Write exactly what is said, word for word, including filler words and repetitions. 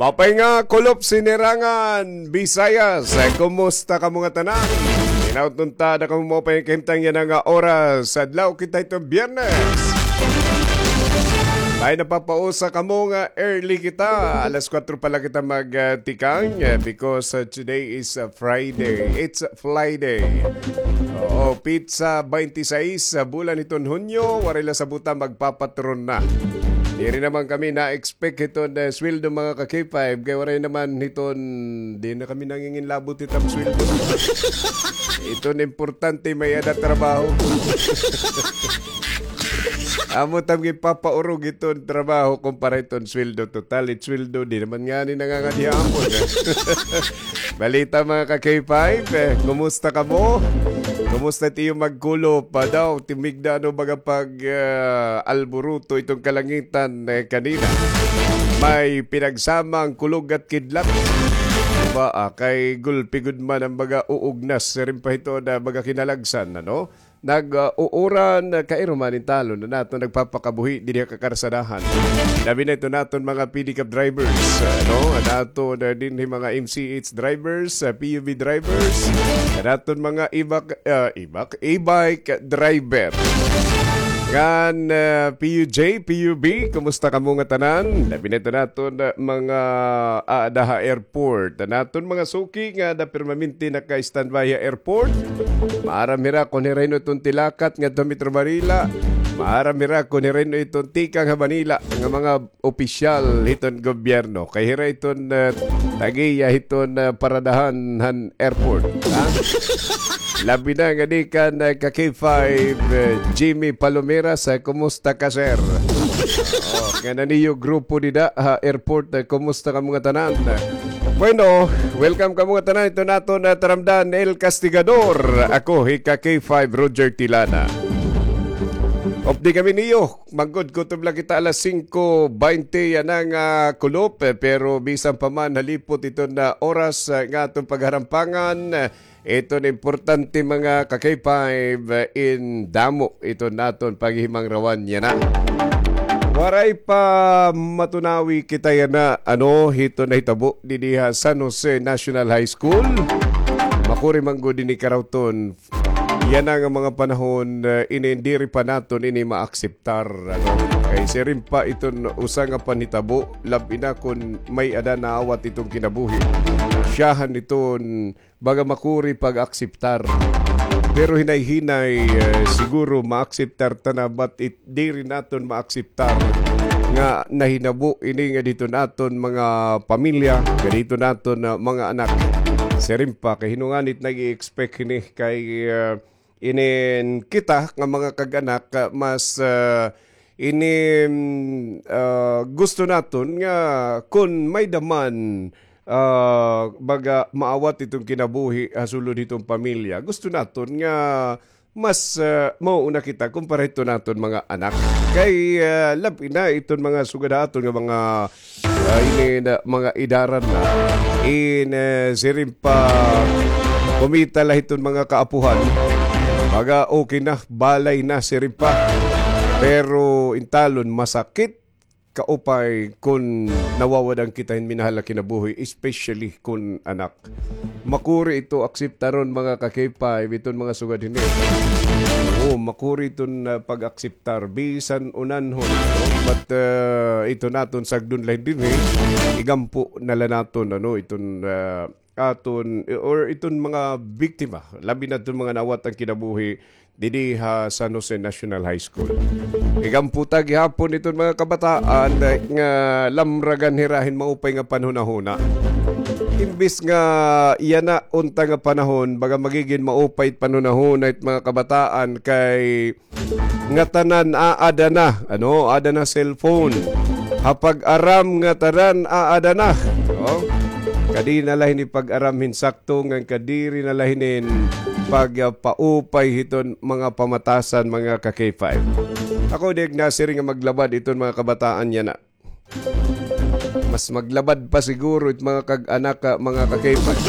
Maupay nga kulop, Sinirangan Visayas. Eh, kumusta kamo nga tanan? Hinaot unta ada kamo maupay nga kahimtang yana nga oras. Adlaw kita hito Biyernes. Ay, napapausa kamo nga early kita. Alas kuwatro pa la kita magtikang, eh, because, uh, today is, uh, Friday. It's Friday. Oo, petsa baynte sais sa bulan hiton Hunyo, waray la sabot nga magpapatron na. Diri naman kami na-expect hiton, eh, sweldo, mga ka-K five, kay waray naman hiton, di na kami nanginginlabot hiton sweldo. Hiton importante may-ada trabaho. Amo ta ginpapaurog iton trabaho kumpara iton sweldo. Total, it sweldo, di naman ngani nangangadiha amon, eh. Balita, mga ka-K five, eh, kumusta kamo? Kumusta it iyo magkulop? Pa daw, timigda, ano, baga pag, ah, alburuto iton kalangitan, eh, kanina. May pinagsama an kulog at kidlat. Ba, ah, kay gulpi gud man an baga uugnas, siring pa hito na baga kinalagsan, ano? Nag, ah, uuran, ah, kay rumanin talon an aton nagpapakabuhi didi ha kakarsadahan. Labi na iton aton mga pedicab drivers, ah, no? An aton, ah, dinhi mga M C H drivers, ah, P U V drivers, an aton mga ibak, ah, ibak, e-bike driver. Ngan, ah, P U J, P U B, kumusta kamo nga tanan? Labi na iton aton, ah, mga aada ha airport. An aton mga suki nga ada permanente naka-standby ha airport. Maaram hira kon hira hin-o iton tilakat ngadto ha Metro Manila. Maaram hira kon hira hin-o iton tikang ha Manila nga mga opisyal hiton gobyerno. Kay hira iton, ah, tag-iya hiton, ah, paradahan han airport. Ha? Labi na ngadi kan, ah, ka-K five, ah, Jimmy Palomeras, ah, kumusta ka, sir? Oh, ngan an iyo grupo dida ha airport, ah, kumusta kamo nga tanan? Bueno, welcome kamo nga tanan. Ito naton, ah, taramdan, El Castigador. Ako, hi ka-K five, Roger Tilana. Updi kami niyo. Manggod kutob la kita alas singko baynte yana nga kulop, eh, pero bisan pa man halipot iton, ah, oras, ah, nga aton pagharampangan, eh, iton importante, mga ka-K five, eh, in damo iton aton paghihimangrawan yana. Waray pa matunawi kita yana, ano, hiton nahitabo didi ha San Jose National High School. Makuri man gud ini karawton. Yana nga mga panahon, eh, ini diri pa naton ini maakseptar, ano? Kay siring pa iton usa nga panhitabo, labi na kon may-ada naawat iton kinabuhi. Siyahan iton baga makuri pag-akseptar. Pero hinay-hinay, eh, siguro maakseptar ta na, but it, diri naton maakseptar nga nahinabo ini nga didto naton mga pamilya, nga didto naton, ah, mga anak. Siring pa, kay hin-o ngani it nag-i-expect hini kay, ah, inin kita nga mga kag-anak, ah, mas, ah, inin, ah, gusto naton nga kon may-ada man, ah, baga maawat iton kinabuhi ha sulod hiton pamilya. Gusto naton nga mas, ah, mauuna kita kumpara hiton aton mga anak. Kay, ah, labi na iton mga sugad ha aton nga mga, ah, ini na, mga idaran na. In, eh, siring pa kumita la hiton mga kaapuhan. Baga okay na, balay na, siring pa. Pero in talon, masakit kaupay kon nawawad-an kita hin minahal nga kinabuhi, especially kon anak. Makuri ito akseptaron, mga ka-K five, iton mga sugad hini. Oo, makuri iton, ah, pag-akseptar bisan unanhon, no? But, ah, ito naton sagdon la hin dinhi, igampo na la naton, ano, iton, ah, aton, or iton mga biktima, labi na iton mga naawat an kinabuhi didi ha San Jose National High School. Igampo ta gihapon iton mga kabataan, eh, nga lamragan hira hin maupay nga panhunahuna. Imbis nga yana unta nga panahon, baga magigin maupay it panhunahuna it mga kabataan kay ngatanan aada na, ano, aada na cellphone. Ha pag-aram ngatanan aada na. Oh. Kadi na la hini pag-aram hin sakto, ngan kadiri na la hinin pagpaupay hiton mga pamatasan, mga ka-K five. Ako, di ak nasiring nga maglabad iton mga kabataan yana. Mas maglabad pa siguro it mga kag-anak, ah, mga ka-K five.